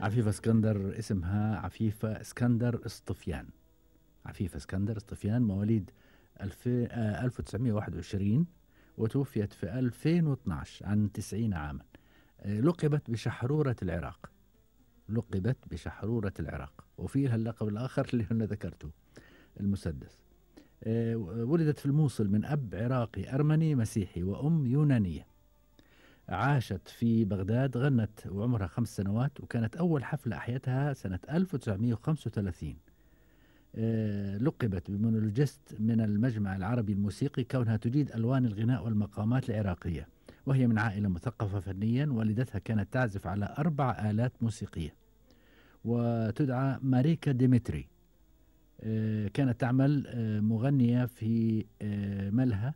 عفيفة اسكندر اسمها عفيفة اسكندر اسطفيان. عفيفة اسكندر اسطفيان مواليد 1921 وتوفيت في 2012 عن 90 عاما. لقبت بشحرورة العراق. لقبت بشحرورة العراق، وفي لها اللقب الآخر اللي أنا ذكرته، المسدس. ولدت في الموصل من أب عراقي أرمني مسيحي وأم يونانية. عاشت في بغداد، غنت وعمرها 5 سنوات، وكانت أول حفلة أحيتها سنة 1935. لقبت بمونولوجيست من المجمع العربي الموسيقي كونها تجيد ألوان الغناء والمقامات العراقية، وهي من عائلة مثقفة فنيا. والدتها كانت تعزف على 4 آلات موسيقية وتدعى ماريكا ديمتري. كانت تعمل مغنية في ملهى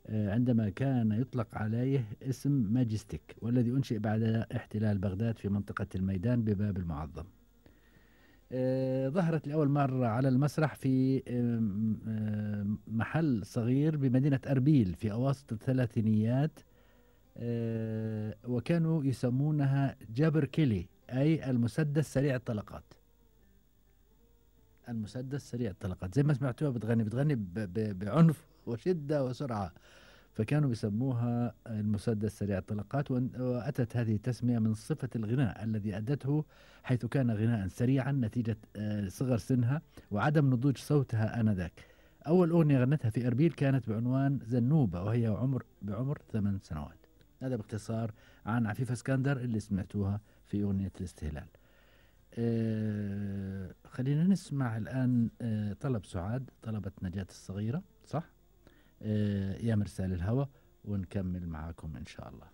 عندما كان يطلق عليه اسم ماجستيك، والذي أنشئ بعد احتلال بغداد في منطقة الميدان بباب المعظم. ظهرت لأول مرة على المسرح في محل صغير بمدينة أربيل في أواسط الثلاثينيات، وكانوا يسمونها جابر كيلي، أي المسدس سريع الطلقات. المسدس سريع الطلقات، زي ما سمعتوها بتغني بعنف وشدة وسرعة، فكانوا بيسموها المسدس سريع الطلقات. وأتت هذه التسمية من صفة الغناء الذي أدته، حيث كان غناء سريعا نتيجة صغر سنها وعدم نضوج صوتها آنذاك. أول أغنية غنتها في أربيل كانت بعنوان زنوبة، وهي بعمر 8 سنوات. هذا باختصار عن عفيفة اسكندر اللي سمعتوها في أغنية الاستهلال. خلينا نسمع الآن طلب سعاد، طلبت نجاة الصغيرة، صح؟ يا مرسال الهوى، ونكمل معاكم إن شاء الله.